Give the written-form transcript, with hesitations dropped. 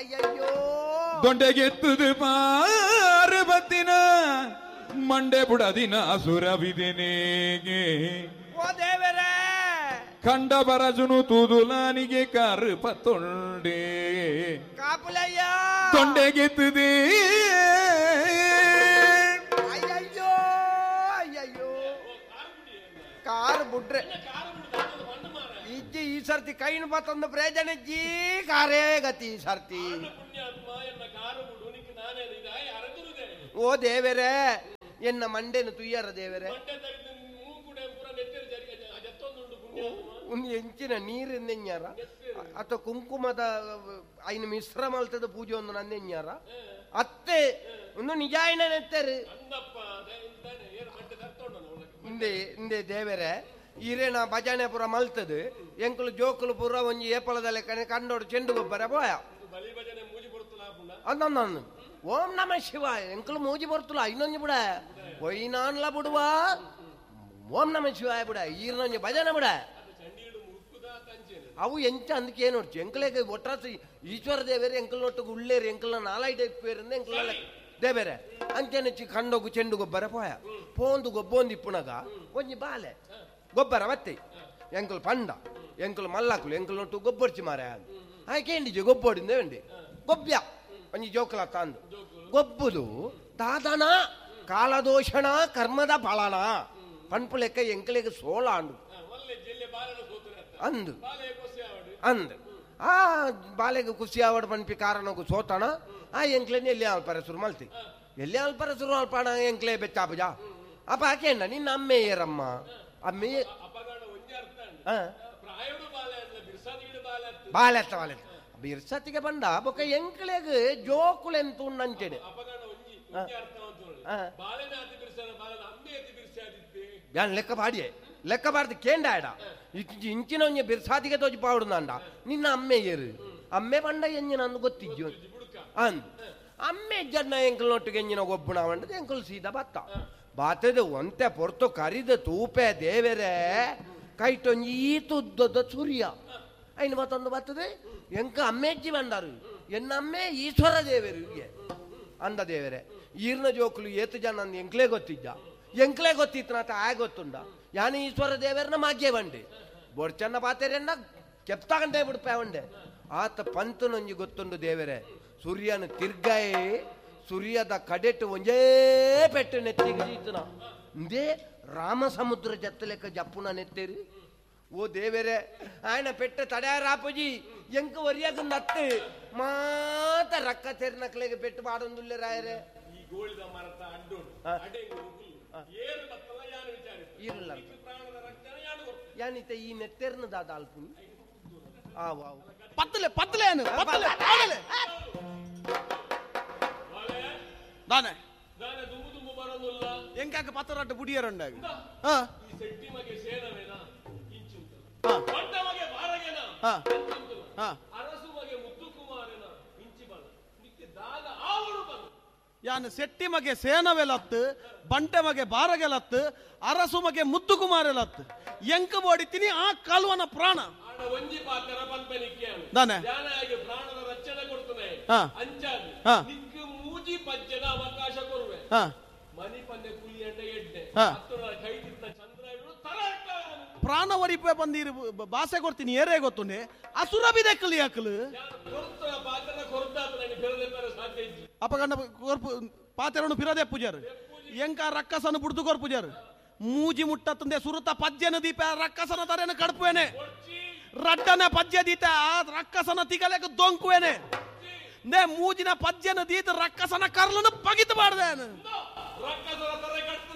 ಅಯ್ಯಯ್ಯೋ ದೊಂಡೆಗೆತ್ತುದು ಪಾರ್ವತಿನ ಮಂಡೆ ಬುಡದಿನ ಸುರವಿದೆನೇಗೆ ಓ ದೇವರೇ ಕಂಡ ಬರಜುನು ತೂದುಲಾನಿಗೆ ಕಾರು ಪತ್ತೊಂಡೆ ಕಾಪುಲಯ್ಯ ತೊಂಡೆಗೆತ್ತುದೇ ಅಯ್ಯಯ್ಯೋ ಅಯ್ಯಯ್ಯೋ ಕಾರು ಬುಡ್ರೆ ಇಜ್ಜಿ ಈ ಸರ್ತಿ ಕೈನು ಬತ್ತೊಂದು ಪ್ರಯೋಜನ ಇಜ್ಜಿ ಕಾರೇ ಗತಿ ಈ ಸರ್ತಿ. ಓ ದೇವರೇ ಎನ್ನ ಮಂಡೆನು ತುಯ್ಯರ ದೇವರೇ ಒಂದು ಎಂಚಿನ ನೀರಿಂದೆಂಜಾರ ಅಥವಾ ಕುಂಕುಮದ ಐನ ಮಿಶ್ರ ಮಲ್ತದ ಪೂಜೆ ಒಂದು ನಂದೆಂಜಾರ ಅತ್ತೆ ಒಂದು ನಿಜಾಯಿನ ನೆತ್ತರು ಇಂದೆ ಇಂದೆ ದೇವರೇ ಈರೇನ ಭಜನೆ ಪೂರ ಮಲ್ತದು ಎಂಕುಲು ಜೋಕುಲು ಪೂರ ಒಂಜಿ ಏಪಲದಲ್ಲೇ ಕಣೆ ಕಂಡೋಡು ಚೆಂಡು ಗೊಬ್ಬರ ಪೋಯ ಅಂದ ಓಂ ನಮ ಶಿವಾಯ ಎಂಕುಲು ಮೂಜಿ ಬರ್ತುಲ ಇನ್ನೊಂಜಿ ಬಿಡ ಒಯ್ನಾನ್ಲ ಬಿಡುವ ಓಂ ನಮ ಶಿವಾಯ ಬಿಡ ಈರ್ನೊಂಜಿ ಭಜನೆ ಬಿಡ ಅವು ಎಂಚ ಅಂದಕ್ಕೆ ಏನು ನೋಡ್ಚು ಎಂಕಲೆಗೆ ಒಟ್ರಾಸ ಈಶ್ವರ ದೇವೇರು ಎಂಕಲ್ ನೊಟ್ಟಿಗೆ ಉಳ್ಳೇರು ಎಂಕಲ್ನ ನಾಲೈಟ್ ಇಪ್ಪೇರಿಂದ ಎಂಕಲ್ ದೇವೇರೆ ಅಂಚೆನೆ ಕಂಡೋಗು ಚೆಂಡು ಗೊಬ್ಬರ ಪೋಯ ಪೋಂದು ಗೊಬ್ಬೊಂದು ಇಪ್ಪುನಗ ಒಂಜಿ ಬಾಲೆ ಗೊಬ್ಬರ ಬತ್ತೆ ಎಂಕಲ್ ಪಂಡ ಎಂಕಲ್ ಮಲ್ಲಾಕುಲು ಎಂಕಲ್ ನೊಟ್ಟು ಗೊಬ್ಬರ್ಚಿ ಮಾರ ಆಯ್ಕೆ ಗೊಬ್ಬೋಡಿಂದ ಉಂಡಿ ಗೊಬ್ಬ್ಯ ಒಂಜಿ ಜೋಕುಲ ತಂದು ಗೊಬ್ಬುದು ದಾದನ ಕಾಲದೋಷಣ ಕರ್ಮದ ಫಲನ ಪನ್ಪು ಲೆಕ್ಕ ಎಂಕಲಿಗೆ ಸೋಲ ಅಂಡು ಅಂದು ಅಂದು ಆ ಬಾಲೆಗೆ ಖುಷಿ ಆವಡ್ ಪನ್ಪಿ ಕಾರಣಕ್ಕೂ ಸೋತಣ ಆ ಎಂಕ್ಲೇನೆ ಎಲ್ಲಿ ಅಲ್ಪರ ಶುರು ಮಲ್ತಿ ಎಲ್ಲಿ ಅಲ್ಪರ ಶುರು ಅಲ್ಪಾಣ ಎಂಕ್ಲೇ ಬೆಚ್ಚಾಪುಜ ಅಪ್ಪ ಆಕೇಂಡ ನಿನ್ನ ಅಮ್ಮೆ ಏರಮ್ಮ ಅಮ್ಮೆ ಬಾಲೆತ್ತ ಬಾಲೆತ್ತ ಬಿರ್ಸತಿಗೆ ಬಂದ ಬೊಕ ಎಂಕ್ಲೆಗ್ ಜೋಕುಲೆಂತ ಉಂಡಂಚೆನೆ ಯಾನ್ ಲೆಕ್ಕ ಪಾಡಿಯೆ ಲೆಕ್ಕ ಪಾಡ್ದು ಕೇಂಡ ಇಂಚಿನ ಒಂಜಿ ಬಿರ್ಸಾತಿಗೆ ತೋಜಿ ಪಾಡುಂಡ ನಿನ್ನ ಅಮ್ಮೆ ಏರು ಅಮ್ಮೆ ಪಂಡ ಎಂಜಿನ ಅಂದು ಗೊತ್ತಿಜ್ಜು ಅಂದ್ ಅಮ್ಮೆ ಜನ್ನ ಎಂಕಲ್ ನೊಟ್ಟಿಗೆ ಎಂಜಿನ ಗೊಬ್ಬುಣ ಬಂಡದು ಎಂಕಲ್ ಸೀದಾ ಬತ್ತ ಬಾತದ ಒಂತೆ ಪೊರ್ತು ಕರಿದ ತೂಪೆ ದೇವೆರೆ ಕೈಟೊಂಜಿ ಈ ತುದ್ದದ ಸೂರ್ಯ ಐನು ಮತ್ತೊಂದು ಬರ್ತದೆ ಎಂಕ ಅಮ್ಮೆಜ್ಜಿ ಬಂದಾರು ಎನ್ನ ಅಮ್ಮೆ ಈಶ್ವರ ದೇವರು ಅಂದ ದೇವರೇ ಈರ್ನ ಜೋಕುಲು ಏತು ಜನ ಅಂದ್ ಎಂಕ್ಲೇ ಗೊತ್ತಿದ್ದ ಎಂಕ್ಲೇ ಗೊತ್ತಿತ್ತು ನಾತ ಆ ಗೊತ್ತುಂಡ ಯಾನು ಈಶ್ವರ ದೇವರನ್ನ ಮಾಗ್ಯೆ ಬಂಡೆ ಬೊಡ್ಚನ್ನ ಪಾತೆರೆನ್ನ ಕೆಪ್ತಾಗಂಟೆ ಬಿಡ್ಪೆ ಉಂಡೆ ಆತ ಪಂತನೊಂಜಿ ಗೊತ್ತುಂಡು ದೇವರೇ ಸೂರ್ಯನ ತಿರ್ಗಾಯೇ ಸೂರ್ಯದ ಕಡೆಟು ಒಂಜೇ ಪೆಟ್ಟು ನೆತ್ತಿಗೆ ಜೀತನ ಇಂದೇ ರಾಮ ಸಮುದ್ರ ಜತ್ತಲೆಕ್ಕ ಜಪ್ಪುನ ನೆತ್ತೇರಿ ಓ ದೇವರೇ ಆಯನ ಪೆಟ್ಟ ತಡ್ಯಾರಾಪುಜಿ ಎಂಕ ಒರಿಯಾಗ ನತ್ತು ಮಾತ ರಕ್ಕ ತೆರ್ನಕ್ಲೆಗೆ ಪೆಟ್ಟು ಪಾಡೊಂದುಲ್ಲೆ ರಾಯರೇ ಇರಲ್ಲ ಯಾನಿತ ಈ ನೆತ್ತೆರ್ನ ದಾದ ಅಲ್ಪುನಿ ಆವು ಆವು ಪತ್ತಲೆ ಪತ್ತಲೆ ಏನು ಪತ್ತಲೆ ಆಡಲೆ ದಾನೆ ಎಂಕಾಕ ಪತ್ತರಾಟ ಬುಡಿಯರಂಡಾಗ ಹಾ ಯಾನ್ ಸೆಟ್ಟಿ ಮಗೆ ಸೇನವೆಲತ್ತು ಬಂಟೆ ಮಗೆ ಬಾರಗೆಲತ್ತು ಅರಸು ಮಗೆ ಮುದ್ದು ಕುಮಾರೆಲತ್ತು ಎಂಕ ಬೋಡಿತೀನಿ ಆ ಕಾಲುವನ ಪ್ರಾಣ ದಾನೆ ಪ್ರಾಣ ಒರಿಪೆ ಬಂದಿರು ಬಾಸೆ ಕೊಡ್ತೀನಿ ಏರೇ ಗೊತ್ತುಂಡೆ ಅಸುರ ಬಿದೆಕ್ಕಲು ಯಾಕಲು ಅಪಗಂಡ ಕೊರ್ಪು ಪಾತೆರನು ಪಿರದೆ ಪೂಜಾರು ಎಂಕ ರಕ್ಕಸನು ಬುಡ್ದು ಕೊರ್ ಪೂಜಾರು ಮೂಜಿ ಮುಟ್ಟತ್ತಂದೆ ಸುರುತ ಪಜ್ಜೆನ ದೀಪ ರಕ್ಕಸನ ತರೇನು ಕಡ್ಪುವೇನೆ ರಡ್ಡನ ಪಜ್ಜೆ ದೀತ ಆ ರಕ್ಕಸನ ತಿಗಲೆಕ ದೊಂಕುವೇನೆ ನೇ ಮೂಜಿನ ಪಜ್ಜೆನ ದೀತ ರಕ್ಕಸನ ಕರ್ಲನ್ನು ಪಗಿತು ಮಾಡ್ದೇನು ರಕ್ಕಸನ ತರ ಕಡ್ಪು